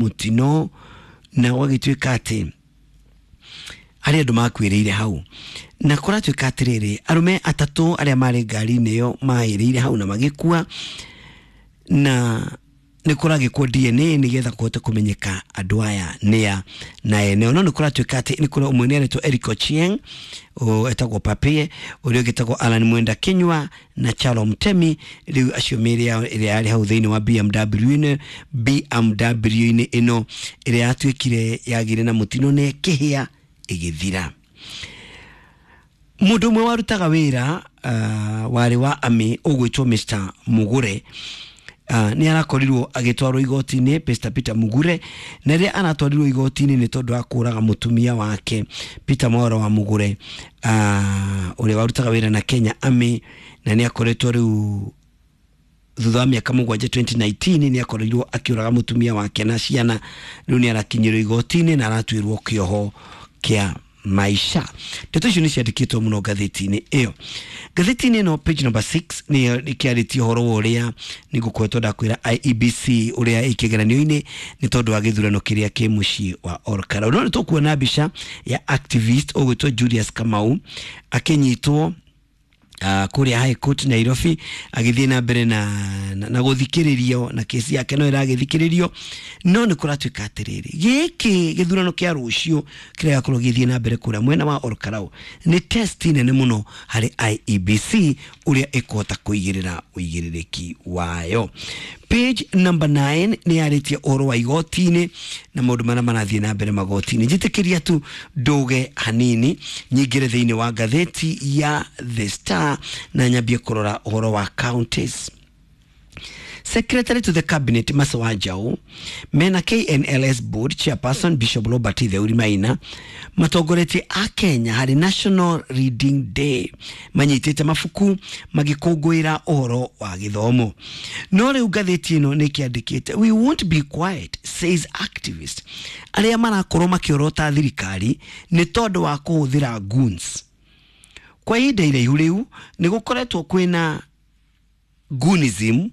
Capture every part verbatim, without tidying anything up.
Mũtino na gwagĩtuĩka atĩ harĩ andũ makuĩrĩire hau, na kũratuĩka atĩrĩrĩ, arũme atatũ arĩa marĩ ngari-inĩ ĩyo mahĩrĩire hau na magĩkua, na nĩ kũragĩkwo D N A nĩgetha kũhote kũmenyeka andũ aya nĩa na ene. No nĩ kũratuĩka atĩ nĩ kũrĩ ũmwe nĩ aretwo Eric Ochieng, o- etagwo Papie, ũrĩa ũngĩ etagwo Alan Mwenda Kinyua na Chalo Mtemi. Rĩu acio mĩĩrĩ yao ĩrĩa yarĩ hau thĩinĩ wa B M W-inĩ B M W-inĩ ĩno ĩrĩa yatuĩkire yagĩire na mũtino na ĩkĩhĩa ĩgĩthira. Mũndũ ũmwe warutaga wĩra uh, warĩ wa ami ũgwĩtwo Mister Mugure uh, nĩ arakorirwo agĩtwarwo igoti-inĩ, Mister Peter Mugure, na rĩrĩa aratwarirwo igoti-inĩ nĩ tondũ wa kũraga mũtumia wake. Peter Mwaura wa Mugure, uh, ũrĩa warutaga wĩra na Kenya Army, na nĩ akoretwo rĩu thutha wa mĩaka mũgwanja twenty nineteen nĩ akorirwo akĩũraga mũtumia wake na ciana. Rĩu nĩ arakinyĩrwo igoti-inĩ na aratuĩrwo kĩoho kĩa maisha. Ndeto icio nĩ ciandĩkĩtwo mũno ngathĩti-inĩ ĩyo. Ngathĩti-inĩ ĩno page number six nĩ ĩkĩarĩtie ũhoro wa ũrĩa nĩ ngũkoretwo ndakwĩra I E B C ũrĩa ĩkĩgeranio-inĩ nĩ tondũ wa gĩthurano kĩrĩa kĩ mũciĩ wa Olkalau. No nĩ tũkuona mbica ya activist ũgwĩtwo Julius Kamau akĩnyitwo uh, kũrĩa High Court Nairobi, agĩthiĩ na mbere na, na, na gũthikĩrĩrio, na kesi yake no ĩragĩthikĩrĩrio. No nĩ kũratuĩka atĩrĩrĩ, gĩkĩ gĩthurano kĩa rũciũ kĩrĩa gĩgakorwo gĩgĩthiĩ na mbere kũrĩa mwena wa Olkalau nĩ test nene mũno harĩ I E B C ũrĩa ĩkũhota kũigĩrĩra ũigĩrĩrĩki wayo. Page number nine nĩ yarĩtie ũhoro wa igoti-inĩ na maũndũ marĩa marathiĩ na mbere magoti-inĩ. Njĩtĩkĩria tu ndũge hanini nyingĩre thĩinĩ wa ngathĩti ya The Star na nyambie kũrora ũhoro wa counties. Secretary to the Cabinet Mercy Wanjaũ mena K N L S Board Chairperson Bishop Robert Theuri Maina matongoretie a Kenya harĩ National Reading Day, manyitĩte mabuku magĩkũngũĩra ũhoro wa gĩthomo. No rĩu ngathĩti ĩno nĩ kĩandĩkĩte, "We won't be quiet, says activist." Arĩa marakorwo makĩorota thirikari nĩ tondũ wa kũhũthĩra goons kwa ihinda iraihu. Rĩu nĩ gũkoretwo kwĩna goonism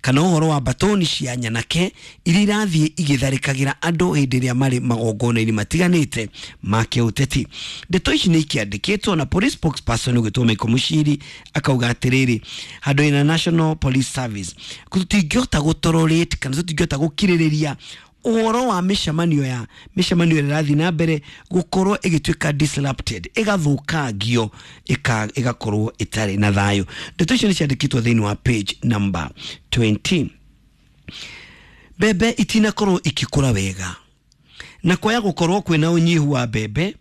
kana ũhoro wa batoni cia nyanake iria irathiĩ igĩtharĩkagĩra andũ hĩndĩ ĩrĩa marĩ magongona-inĩ matiganĩte ma kĩũteti. Ndeto ici nĩ ikĩandĩkĩtwo na police spokesperson ũgĩtwo Michael Mushiri akauga atĩrĩrĩ, handũ ina National Police Service tũtingĩhota gũtolerate kana tũtingĩhota gũkirĩrĩria ũhoro wa mĩcemanio ya mĩcemanio ĩrĩa ĩrathiĩ na mbere gũkorwo ĩgĩtuĩka disrupted, ĩgathũkangio, ĩka- ĩgakorwo ĩtarĩ na thayũ. Ndeto icio nĩ ciandĩkĩtwo thĩinĩ wa page number twenty. Mbembe itinakorwo ikĩkũra wega na kwaya gũkorwo kwĩna ũnyihu wa mbembe,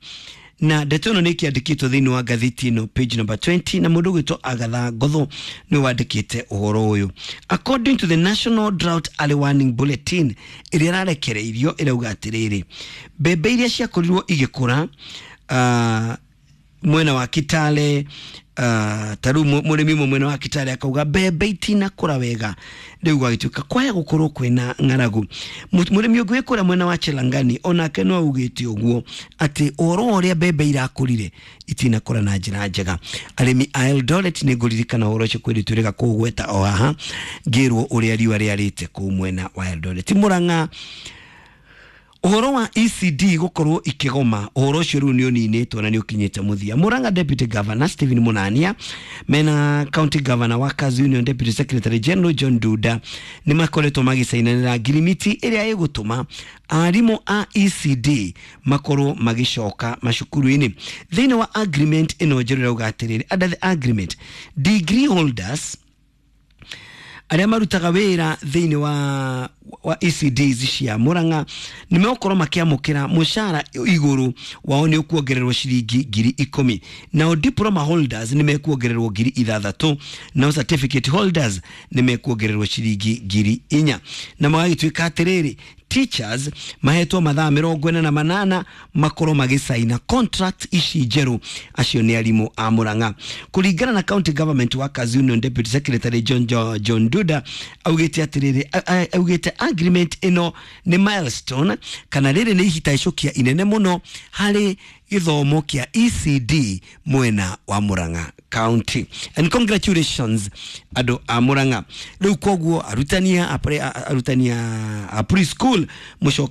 na ndeto ĩno nĩ ĩkĩandĩkĩtwo thĩinĩ wa ngathĩti ĩno page number twenty, na mũndũ ũgwĩtwo Agatha Ngotho nĩwe wandĩkĩte ũhoro ũyũ. According to the National Drought Early Warning Bulletin ĩrĩa ĩrarekereirio, ĩrauga atĩrĩrĩ, mbembe iria ciakorirwo igĩkũra uh, mwena wa Kitale, uh, ta rĩu mũ- mũrĩmi ũmwe mwena wa Kitale akauga mbembe itinakũra wega, rĩu gwagĩtuĩka kwaya gũkorwo kwĩna ng'aragu. Mũ- mũrĩmi ũngĩ wĩ kũrĩa mwena wa Chelangani onake no augĩte ũguo atĩ ũhoro wa ũrĩa mbembe irakũrire itinakũra na njĩra njega. Arĩmi a Eldoret, nĩ ngũririkana ũhoro ũcio kwĩrĩ twĩrĩga kũũgweta o haha ngĩrwo ũrĩa riũa rĩarĩte kũu mwena wa Eldoret. Mũrang'a, ũhoro wa E C D gũkorwo ikĩgoma, ũhoro ũcio rĩu nĩ ũninĩtwo na nĩ ũkinyĩte mũthia. Murang'a Deputy Governor Stephen Munania mena County Governor Workers Union Deputy Secretary General John Duda nĩ makoretwo magĩcainanĩra ngirimiti ĩrĩa ĩgũtũma arimũ a E C D makorwo magĩcoka macukuru-inĩ. Thĩinĩ wa agreement ĩno njerũ ĩrauga atĩrĩrĩ, under the agreement, degree holders arĩa marutaga wĩra thĩinĩ wa, wa E C Ds cia Murang'a nĩ megũkorwo makĩamũkĩra mũcara igũrũ wao nĩ ũkuongererwo ciringi ngiri ikũmi, nao diploma holders nĩ mekuongererwo ngiri ithathatũ, nao certificate holders nĩ mekuongererwo ciringi ngiri inya. Na magagĩtuĩka atĩrĩrĩ, teachers mahetwo mathaa mĩrongo ĩna na manana makorwo magĩcaina contract ici njerũ. Acio nĩ arimũ a Murang'a. Kũringana na County Government Workers Union Deputy Secretary John, John, John Duda, augĩte atĩrĩrĩ, a- a- augĩte agreement ĩno nĩ milestone kana rĩrĩ nĩ ihitacũkia inene mũno harĩ gĩthomo kĩa E C D mwena wa Murang'a County. And congratulations, andũ a Murang'a. Rĩu koguo arutani a, a, arutani a, a preschool mũcoke.